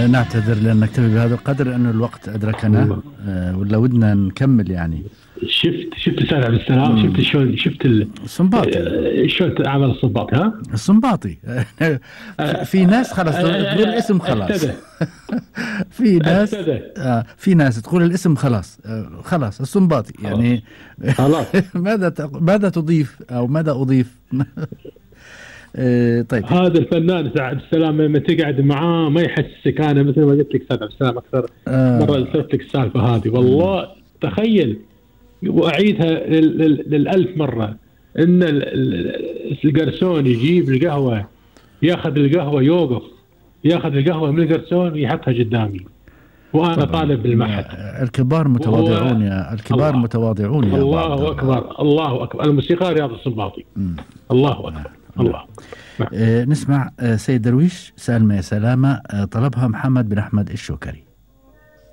نعتذر لأن نكتفي بهذا القدر لأنه الوقت أدركنا. ولا ودنا نكمل يعني. شفت أستاذ عبد السلام، شفت شلون، شفت السنباطي شلون عمل السنباطي. ها السنباطي في ناس خلاص تقول الاسم خلاص. في ناس تقول الاسم خلاص خلاص السنباطي يعني. خلاص. ماذا تضيف أو ماذا أضيف؟ طيب، هذا الفنان عبد السلام لما تقعد معاه ما يحسك. انا مثل ما قلت لك استاذ عبد السلام اكثر مره ذكرت لك السالفه هذه، والله تخيل واعيدها للألف مره، ان القرسون يجيب القهوه، ياخذ القهوه، يوقف ياخذ القهوه من القرسون ويحطها قدامي وانا طالب بالمعهد. الكبار متواضعون يا الكبار متواضعون يا الله اكبر الله اكبر. الموسيقى رياض السنباطي. الله اكبر. الله. نسمع سيد درويش سالمة يا سلامة، طلبها محمد بن أحمد الشوكري.